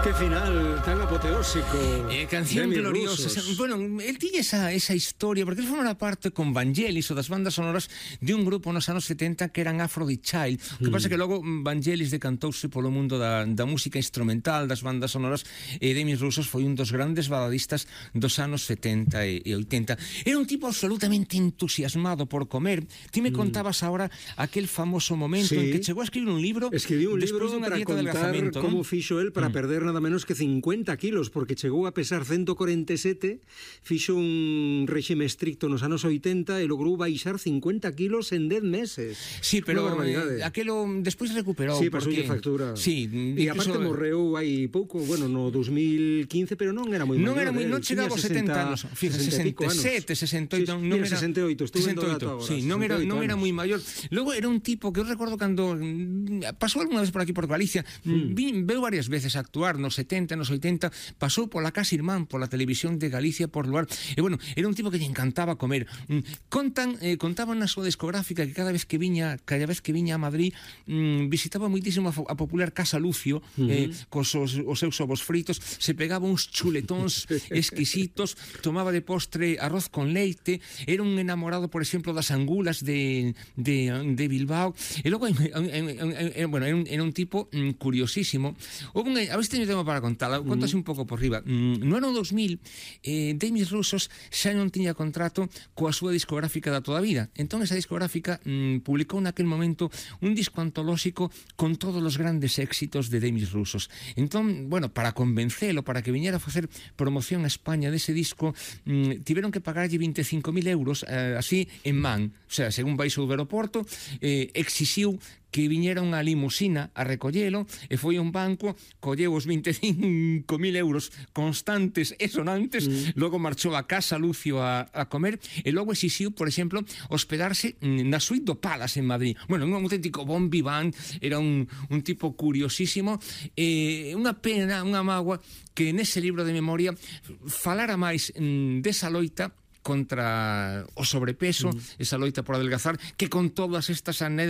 Qué final tan apoteósico. Canción gloriosa. Bueno, el tiñe esa historia, porque él formaba parte con Vangelis ou das bandas sonoras de un grupo nos anos 70 que eran Aphrodite Child. O que pasa que logo Vangelis decantouse polo mundo da música instrumental, das bandas sonoras, e Demis Roussos foi un dos grandes baladistas dos anos 70 e 80. Era un tipo absolutamente entusiasmado por comer. Ti me contabas ahora aquel famoso momento en que chegou a escribir un libro. Escribí un libro dunha para dieta de contar como fixo el para perder nada menos que 50 kilos, porque chegou a pesar 147, fixo un réxime estricto nos anos 80 e logrou baixar 50 kilos en 10 meses. Sí, pero aquelo despois recuperou. Sí, pasoulle factura. Sí, e aparte morreu hai pouco, bueno, no 2015, pero non era moi maior. Non chegaba aos 70 anos. Fíjate, 67, 68, non era 68, estou vendo o dato agora. Sí, non era moi maior. Logo era un tipo que eu recordo cando pasou algunha vez por aquí por Galicia, veu varias veces a actuar nos 70, nos 80, pasou pola Casa Irmán, pola televisión de Galicia, por lugar, e bueno, era un tipo que lle encantaba comer. Contaban na súa discográfica que cada vez que viña a Madrid visitaba moitísimo a popular Casa Lucio, cos os seus ovos fritos, se pegaba uns chuletóns exquisitos, tomaba de postre arroz con leite, era un enamorado, por exemplo, das angulas de Bilbao, e logo bueno, era un tipo curiosísimo. A ver se teño tema para contar, contase un pouco por riba. No ano 2000 Demis Roussos xa non tiña contrato coa súa discográfica da toda a vida, entón esa discográfica publicou naquel momento un disco antolóxico con todos os grandes éxitos de Demis Roussos. Entón, bueno, para convencelo, para que viñera a facer promoción a España dese disco, tiveron que pagarlle 25.000 euros así en man, o sea, según baixou do aeroporto, exixiu que viñera unha limusina a recollelo e foi a un banco, colleu os 25.000 euros constantes e sonantes, logo marchou a Casa Lucio a comer e logo exixiu, por exemplo, hospedarse na suite do Palace en Madrid. Bueno, un auténtico bon vivant, era un tipo curiosísimo, unha pena, unha mágoa que nese libro de memoria falara máis desa loita contra o sobrepeso, esa loita por adelgazar, que con todas estas anécdotas